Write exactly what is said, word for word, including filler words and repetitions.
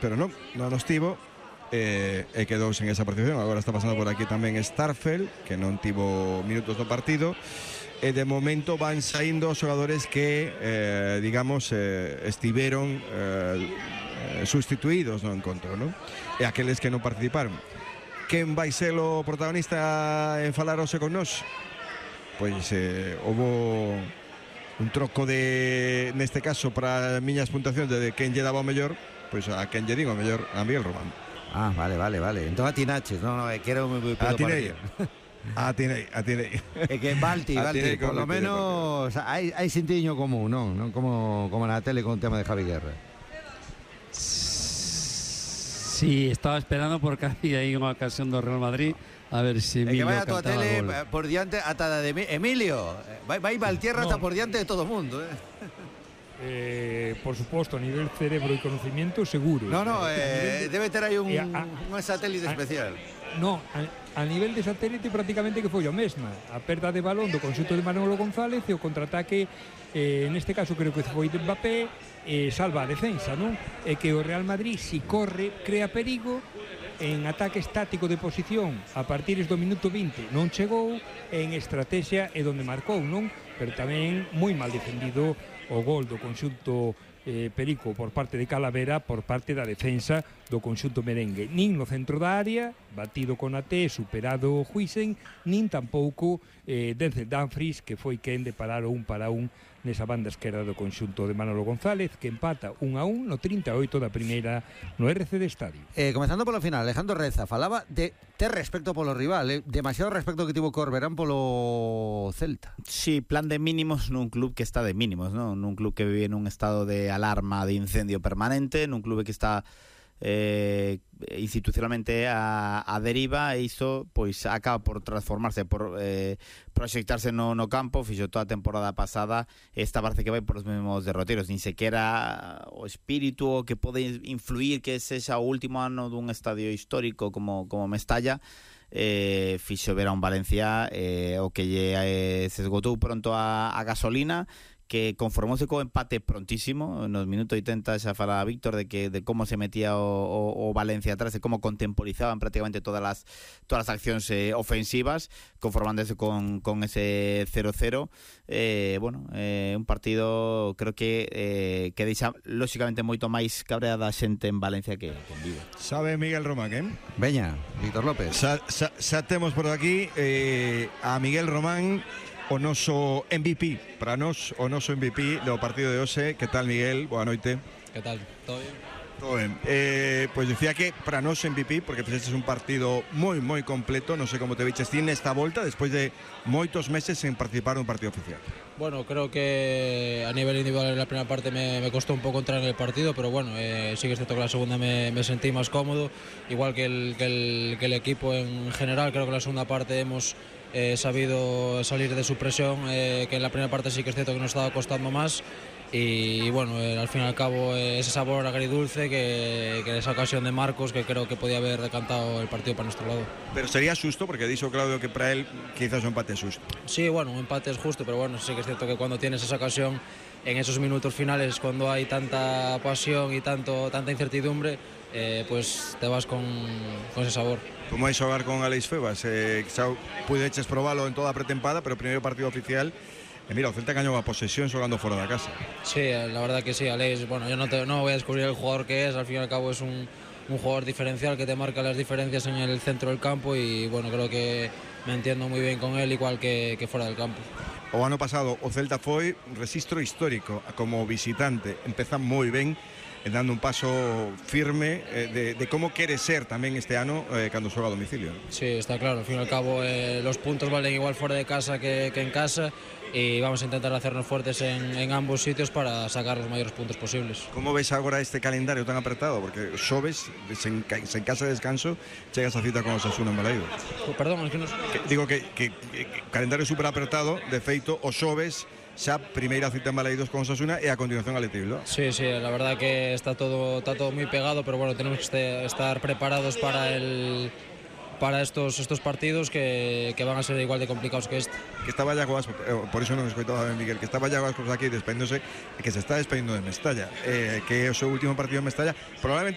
pero non, non nos tivo e, e quedou sen esa participación. Agora está pasando por aquí tamén Starfel, que non tivo minutos do partido, e de momento van saindo os xogadores que eh, digamos eh, estiveron eh, sustituídos no encontro, non? E aqueles que non participaron. Quen vai ser o protagonista en falar hoxe con nós? Pois eh, houve un troco de, neste caso, para miñas puntuacións de quen lle daba o mellor, pois a quen lle digo o mellor, a Miguel Román. Ah, vale, vale, vale. Entón atinaches, no, no, que era moi atinei, atinei, atinei. É que Balti, Balti, por lo menos hai, hai sentidiño común, non? Non como, como na tele con o tema de Javi Guerra. Sí, estaba esperando porque había aí unha ocasión do Real Madrid. A ver si Emilio cantaba. É que vai a tua tele gol. por diante ata de Emilio. Vai, vai Valtierra no. Hasta por diante de todo o mundo, eh. Eh, por suposto, a nivel cerebro e conocimiento seguro. No, no, eh, de, debe ter aí un, a, un satélite a, especial. No, a, a nivel de satélite prácticamente que foi o mesma. A perda de balón do conxunto de Manolo González e o contraataque, eh, neste caso creo que foi de Mbappé, eh, salva a defensa, non? E que o Real Madrid, si corre, crea perigo. En ataque estático de posición a partir do minuto vinte non chegou, en estrategia é donde marcou, non? Pero tamén moi mal defendido o gol do conxunto eh, Perico por parte de Calavera, por parte da defensa do conxunto merengue. Nin no centro da área, batido con Até, superado Huisen, nin tampouco eh, Denzel Dumfries, que foi quen de parar un para un nesa banda esquerda do conxunto de Manolo González, que empata un a un no trinta e oito da primeira no R C de Estadio. Eh, comenzando polo final, Alejandro Reza falaba de ter respecto polo rival, eh? Demasiado respecto que tivo Corberán polo Celta. Sí, plan de mínimos nun club que está de mínimos, ¿no? Nun club que vive nun estado de alarma, de incendio permanente, nun club que está eh, institucionalmente a, a deriva, e iso pois acaba por transformarse, por eh, proxectarse no, no campo. Fixo toda a temporada pasada, esta parece que vai por os mesmos derroteros, nin sequera o espírito que pode influir que sexa o último ano dun estadio histórico como, como Mestalla. Eh, fixo ver a un Valencia eh, o que lle eh, se esgotou pronto a, a gasolina, que conformouse co empate prontísimo. Nos minutos oitenta xa fala Víctor de que de como se metía o, o, o Valencia atrás, de como contemporizaban prácticamente todas as todas as accións eh, ofensivas, conformándose con, con ese cero cero. Eh, bueno, eh, un partido creo que eh, que deixa lóxicamente moito máis cabreada a xente en Valencia que, que en Vigo. Sabe Miguel Román, eh? Veña, Víctor López. Xa, xa, xa temos por aquí eh, a Miguel Román, o noso M V P, para nós, o noso M V P do partido de hoxe. Que tal, Miguel? Boa noite. Que tal? Todo bien? Todo ben. Eh, pois dicía que para nós M V P, porque fixestes un partido moi, moi completo. Non sei como te viches ti nesta volta, despois de moitos meses sen participar nun partido oficial. Bueno, creo que a nivel individual en la primera parte me, me costó un poco entrar en el partido, pero bueno, eh, sí que es cierto que la segunda me, me sentí más cómodo, igual que el, que, el, que el equipo en general. Creo que en la segunda parte hemos eh, sabido salir de su presión, eh, que en la primera parte sí que es cierto que nos estaba costando más. Y, y bueno, eh, al fin y al cabo eh, ese sabor agridulce que, que esa ocasión de Marcos, que creo que podía haber decantado el partido para nuestro lado. Pero sería justo, porque dijo Claudio que para él quizás un empate es justo. Sí, bueno, un empate es justo, pero bueno, sí que es cierto que cuando tienes esa ocasión en esos minutos finales, cuando hay tanta pasión y tanto, tanta incertidumbre, eh, pues te vas con, con ese sabor. Como é xogar con Aleix Febas, eh, xa pudeches probalo en toda a pretempada, pero o primeiro partido oficial. E mira, o Celta gañou a posesión xogando fora da casa. Sí, la verdad que sí, Aleix, bueno, yo no, te, no voy a descubrir el jugador que es, al fin y al cabo es un, un jugador diferencial que te marca las diferencias en el centro del campo, y bueno, creo que me entiendo muy bien con él, igual que, que fuera del campo. O ano pasado o Celta foi registro histórico como visitante, empezan moi ben, dando un paso firme eh, de, de como quere ser tamén este ano eh, cando xoga a domicilio. Sí, está claro, al fin y al cabo eh, los puntos valen igual fuera de casa que, que en casa, y vamos a intentar hacernos fuertes en, en ambos sitios para sacar los mayores puntos posibles. Como ves agora este calendario tan apretado? Porque xoves, sen, sen casa de descanso, chegas a cita con o Osasuna en Balaídos. Perdón, es que nos... que, digo que, que, que, que calendario super apretado, de feito, o xoves xa primeira cita en Balaídos con Osasuna e a continuación a Letibilbao. Sí, sí, la verdad que está todo, está todo muy pegado, pero bueno, tenemos que estar preparados para el... para estos estos partidos que, que van a ser igual de complicados que este. Que estaba Iago Ascos, eh, por iso non escoitaba ben Miguel, que estaba Iago Ascos aquí despedíndose, e que se está despedindo de Mestalla, eh, que é o seu último partido en Mestalla, probablemente